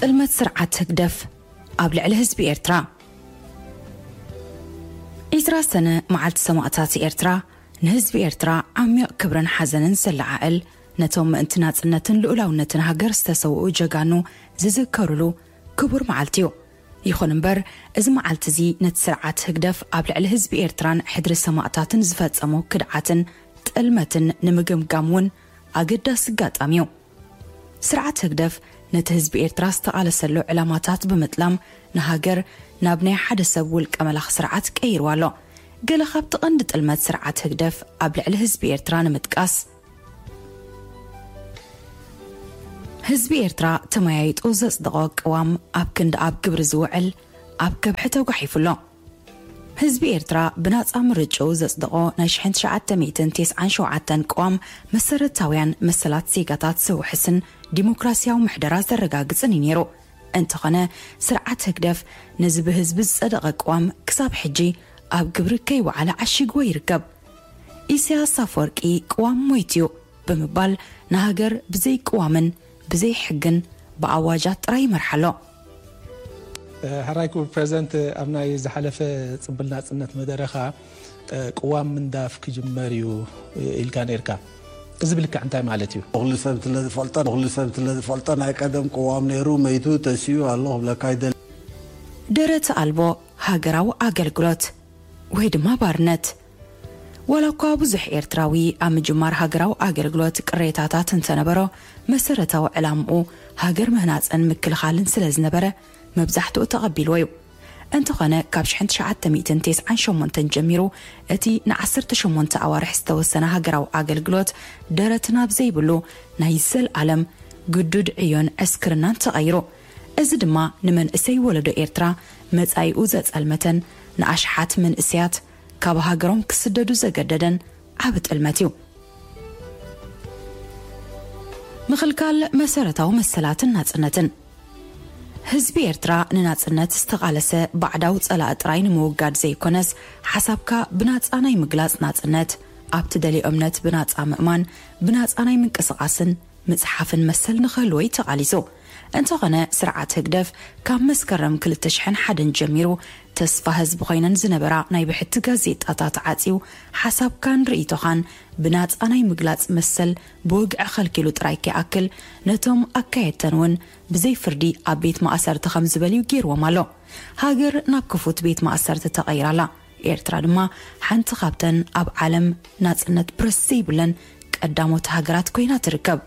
ጥልመት ስርዓት ህግደፍ ኣብ ልዕሊ ህዝቢ ኤርትራ። ዒስራ ሰነ መዓልቲ ሰማእታት ኤርትራ ንህዝቢ ኤርትራ ዓሚቕ ክብርን ሓዘንን ዘለዓዕል፣ ነቶም ምእንቲ ናጽነትን ልኡላውነትን ሃገር ዝተሰውኡ ጀጋኑ ዝዝከሩሉ ክቡር መዓልቲ እዩ። ይኹን እምበር፣ እዚ መዓልቲ እዚ ነቲ ስርዓት ህግደፍ ኣብ ልዕሊ ህዝቢ ኤርትራን ሕድሪ ሰማእታትን ዝፈጸሞ ክድዓትን ጥልመትን ንምግምጋም እውን ኣገዳሲ ኣጋጣሚ እዩ። ስርዓት ህግደፍ ነቲ ህዝቢ ኤርትራ ዝተቓለሰሉ ዕላማታት ብምጥላም ንሃገር ናብ ናይ ሓደ ሰብ ውልቀ መላኺ ስርዓት ቀይርዋ ኣሎ። ገለ ካብቲ ቀንዲ ጥልመት ስርዓት ህግደፍ ኣብ ልዕሊ ህዝቢ ኤርትራ ንምጥቃስ፣ ህዝቢ ኤርትራ ተመያይጡ ዘጽደቖ ቅዋም ኣብ ክንዲ ኣብ ግብሪ ዝውዕል ኣብ ከብሒ ተጓሒፉ ኣሎ። ህዝቢ ኤርትራ ብናጻ ምርጭኡ ዘጽደቖ ናይ ሽሕን ትሽዓተ ሚእትን ተስዓን ሸውዓተን ቅዋም መሰረታውያን መሰላት ዜጋታት ዘውሕስን ዲሞክራሲያዊ ምሕደራ ዘረጋግጽን እዩ ነይሩ። እንተኾነ፣ ስርዓት ህግደፍ ነዚ ብህዝቢ ዝጸደቐ ቅዋም ክሳብ ሕጂ ኣብ ግብሪ ከይወዓለ ዓሺግዎ ይርከብ። ኢሳያስ ኣፈወርቂ ቅዋም ሞይቱ እዩ ብምባል ንሃገር ብዘይ ቅዋምን ብዘይ ሕግን ብኣዋጃት ጥራይ ይመርሓ ኣሎ። ሕራይ ክቡር ፕሬዚደንት፣ ኣብ ናይ ዝሓለፈ ጽምብል ናጽነት መደረኻ ቅዋም ምንዳፍ ክጅመር እዩ ኢልካ ነርካ። እዚ ብልክዕ እንታይ ማለት እዩ? ኩሉ ሰብ ስለዝፈልጦ፣ ኩሉ ሰብ ስለዝፈልጦ ናይ ቀደም ቅዋም ነይሩ፣ መይቱ፣ ተሲኡ ኣሎ ክብለካ ይደሊ። ደረት ኣልቦ ሃገራዊ ኣገልግሎት ወይ ድማ ባርነት። ዋላ እኳ ብዙሕ ኤርትራዊ ኣብ ምጅማር ሃገራዊ ኣገልግሎት ቅሬታታት እንተነበሮ፣ መሰረታዊ ዕላምኡ ሃገር ምህናጽን ምክልኻልን ስለ ዝነበረ መብዛሕትኡ ተቐቢልዎ እዩ። እንተኾነ፣ ካብ ሽሕን ትሽዓተ ሚእትን ተስዓን ሸሞንተን ጀሚሩ እቲ ንዓሰርተ ሸሞንተ ኣዋርሕ ዝተወሰነ ሃገራዊ ኣገልግሎት ደረት ናብ ዘይብሉ ናይ ዘልኣለም ግዱድ ዕዮን ዕስክርናን ተቐይሩ። እዚ ድማ ንመንእሰይ ወለዶ ኤርትራ መጻኢኡ ዘጸልመተን ንኣሽሓት መንእሰያት ካብ ሃገሮም ክስደዱ ዘገደደን ዓቢ ጥልመት እዩ። ምኽልካል መሰረታዊ መሰላትን ናጽነትን። ህዝቢ ኤርትራ ንናጽነት ዝተቓለሰ ባዕዳዊ ጸላኢ ጥራይ ንምውጋድ ዘይኮነስ፣ ሓሳብካ ብናጻ ናይ ምግላጽ ናጽነት፣ ኣብ ትደልዮ እምነት ብናጻ ምእማን፣ ብናጻ ናይ ምንቅስቓስን ምጽሓፍን መሰል ንኽህልዎ እዩ ተቓሊሱ። እንተኾነ፣ ስርዓት ህግደፍ ካብ መስከረም ክልተ ሽሕን ሓደን ጀሚሩ ተስፋ ህዝቢ ኮይነን ዝነበራ ናይ ብሕቲ ጋዜጣታት ዓጽዩ፣ ሓሳብካን ርእይቶኻን ብናጻ ናይ ምግላጽ መሰል ብወግዒ ከልኪሉ ጥራይ ከይኣክል፣ ነቶም ኣካየድተን እውን ብዘይ ፍርዲ ኣብ ቤት ማእሰርቲ ከም ዝበልዩ ገይርዎም ኣሎ። ሃገር ናብ ክፉት ቤት ማእሰርቲ ተቐይራ ኣላ። ኤርትራ ድማ ሓንቲ ካብተን ኣብ ዓለም ናጽነት ፕረስ ዘይብለን ቀዳሞት ሃገራት ኮይና ትርከብ።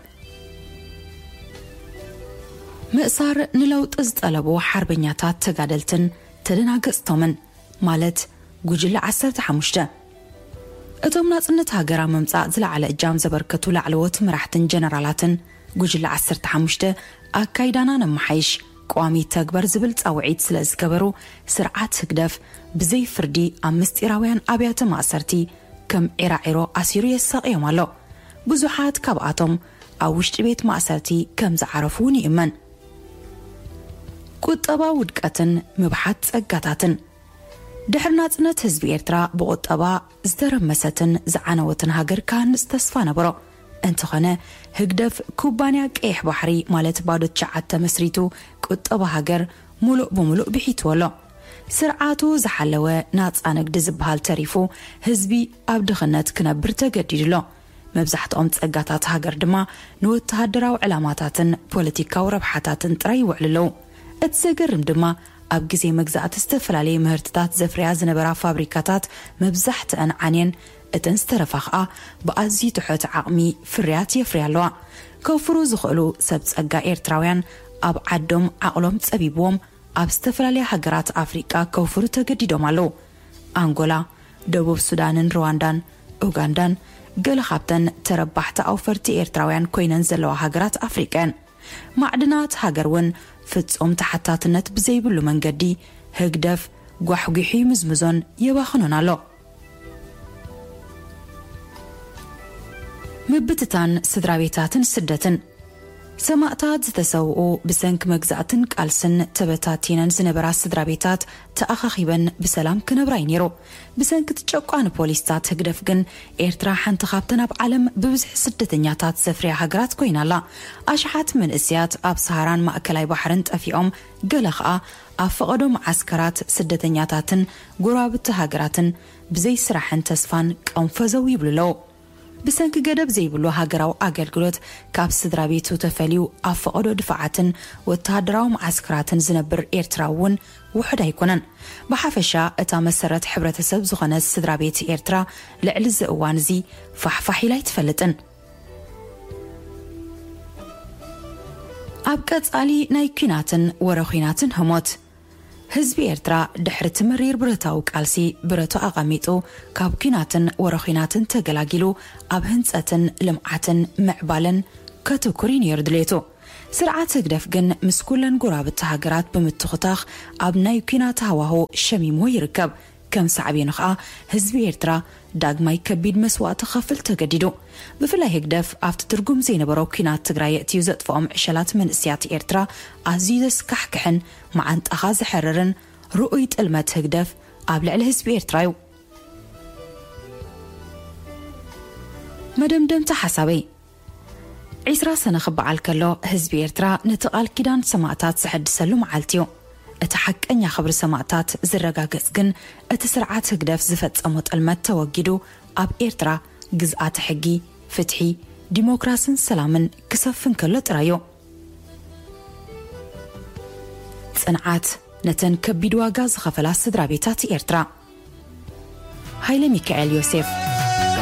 ምእሳር ንለውጢ ዝጠለቡ ሓርበኛታት ተጋደልትን ተደናገጽቶምን፣ ማለት ጉጅለ ዓሰርተ ሓሙሽተ። እቶም ናጽነት ሃገር ኣብ ምምጻእ ዝለዓለ እጃም ዘበርከቱ ላዕለዎት መራሕትን ጀነራላትን፣ ጉጅለ ዓሰርተ ሓሙሽተ ኣካይዳና ነመሓይሽ፣ ቅዋም ይተግበር ዝብል ጻውዒት ስለ ዝገበሩ፣ ስርዓት ህግደፍ ብዘይ ፍርዲ ኣብ ምስጢራውያን ኣብያተ ማእሰርቲ ከም ዒራዒሮ ኣሲሩ የሳቕዮም ኣሎ። ብዙሓት ካብኣቶም ኣብ ውሽጢ ቤት ማእሰርቲ ከም ዝዓረፉ እውን ይእመን። ቁጠባ ውድቀትን ምብሓት ጸጋታትን። ድሕሪ ናጽነት ህዝቢ ኤርትራ ብቁጠባ ዝተረመሰትን ዝዓነወትን ሃገር ክሃንጽ ተስፋ ነበሮ። እንተኾነ፣ ህግደፍ ኩባንያ ቀይሕ ባሕሪ፣ ማለት ባዶ ትሽዓተ መስሪቱ፣ ቁጠባ ሃገር ሙሉእ ብሙሉእ ብሒትዎ ኣሎ። ስርዓቱ ዝሓለወ ናጻ ንግዲ ዝበሃል ተሪፉ፣ ህዝቢ ኣብ ድኽነት ክነብር ተገዲዱ ኣሎ። መብዛሕትኦም ጸጋታት ሃገር ድማ ንወተሃደራዊ ዕላማታትን ፖለቲካዊ ረብሓታትን ጥራይ ይውዕሉ ኣለዉ። እቲ ዘገርም ድማ፣ ኣብ ግዜ መግዛእቲ ዝተፈላለየ ምህርትታት ዘፍርያ ዝነበራ ፋብሪካታት መብዛሕትአን ዓንየን፣ እተን ዝተረፋ ኸኣ ብኣዝዩ ትሑት ዓቕሚ ፍርያት የፍርያ ኣለዋ። ከውፍሩ ዝኽእሉ ሰብ ጸጋ ኤርትራውያን ኣብ ዓዶም ዓቕሎም ጸቢብዎም ኣብ ዝተፈላለያ ሃገራት ኣፍሪቃ ከውፍሩ ተገዲዶም ኣለዉ። ኣንጎላ፣ ደቡብ ሱዳንን ሩዋንዳን፣ ኡጋንዳን ገለ ካብተን ተረባሕቲ ኣውፈርቲ ኤርትራውያን ኮይነን ዘለዋ ሃገራት ኣፍሪቃ እየን። ማዕድናት ሃገር እውን ፍጹም ተሓታትነት ብዘይብሉ መንገዲ ህግደፍ ጓሕጒሑ ይምዝምዞን የባኽኖን ኣሎ። ምብትታን ስድራ ቤታትን ስደትን። ሰማእታት ዝተሰውኡ ብሰንኪ መግዛእትን ቃልስን ተበታቲነን ዝነበራ ስድራ ቤታት ተኣኻኺበን ብሰላም ክነብራ እዩ ነይሩ። ብሰንኪ እቲ ጨቋኒ ፖሊስታት ህግደፍ ግን ኤርትራ ሓንቲ ካብተን ኣብ ዓለም ብብዝሒ ስደተኛታት ዘፍርያ ሃገራት ኮይና ኣላ። ኣሽሓት መንእሰያት ኣብ ሰሃራን ማእከላይ ባሕርን ጠፊኦም፣ ገለ ኸኣ ኣብ ፈቐዶ መዓስከራት ስደተኛታትን ጎረባብቲ ሃገራትን ብዘይ ስራሕን ተስፋን ቀንፈዘው ይብሉ ኣለዉ። ብሰንኪ ገደብ ዘይብሉ ሃገራዊ ኣገልግሎት ካብ ስድራ ቤቱ ተፈልዩ ኣብ ፈቐዶ ድፋዓትን ወተሃደራዊ መዓስከራትን ዝነብር ኤርትራዊ እውን ውሑድ ኣይኮነን። ብሓፈሻ እታ መሰረት ሕብረተሰብ ዝኾነት ስድራ ቤት ኤርትራ ልዕሊ እዚ እዋን እዚ ፋሕፋሕ ኢላ ኣይትፈልጥን። ኣብ ቀጻሊ ናይ ኲናትን ወረ ኲናትን ህሞት። ህዝቢ ኤርትራ ድሕሪ እቲ መሪር ብረታዊ ቃልሲ ብረቱ ኣቐሚጡ፣ ካብ ኲናትን ወረ ኲናትን ተገላጊሉ፣ ኣብ ህንጸትን ልምዓትን ምዕባለን ከትኩር እዩ ነይሩ ድሌቱ። ስርዓት ህግደፍ ግን ምስ ኩለን ጎረባብቲ ሃገራት ብምትኹታኽ ኣብ ናይ ኲናት ሃዋሁ ሸሚሙ ይርከብ። ከም ሳዕቤኑ ኸኣ ህዝቢ ኤርትራ ዳግማይ ከቢድ መስዋእቲ ክኸፍል ተገዲዱ። ብፍላይ ህግደፍ ኣብቲ ትርጉም ዘይነበሮ ኲናት ትግራይ የእትዩ ዘጥፍኦም ዕሸላት መንእሰያት ኤርትራ ኣዝዩ ዘስካሕክሕን መዓንጣኻ ዘሕርርን ርኡይ ጥልመት ህግደፍ ኣብ ልዕሊ ህዝቢ ኤርትራ እዩ። መደምደምታ ሓሳበይ፣ ዒስራ ሰነ ክበዓል ከሎ ህዝቢ ኤርትራ ነቲ ቃል ኪዳን ሰማእታት ዘሐድሰሉ መዓልቲ እዩ። እቲ ሓቀኛ ክብሪ ሰማእታት ዝረጋገጽ ግን እቲ ስርዓት ህግደፍ ዝፈጸሞ ጥልመት ተወጊዱ ኣብ ኤርትራ ግዝኣተ ሕጊ፣ ፍትሒ፣ ዲሞክራስን ሰላምን ክሰፍን ከሎ ጥራይ እዩ። ጽንዓት ነተን ከቢድ ዋጋ ዝኸፈላ ስድራ ቤታት ኤርትራ። ሃይለ ሚካኤል ዮሴፍ።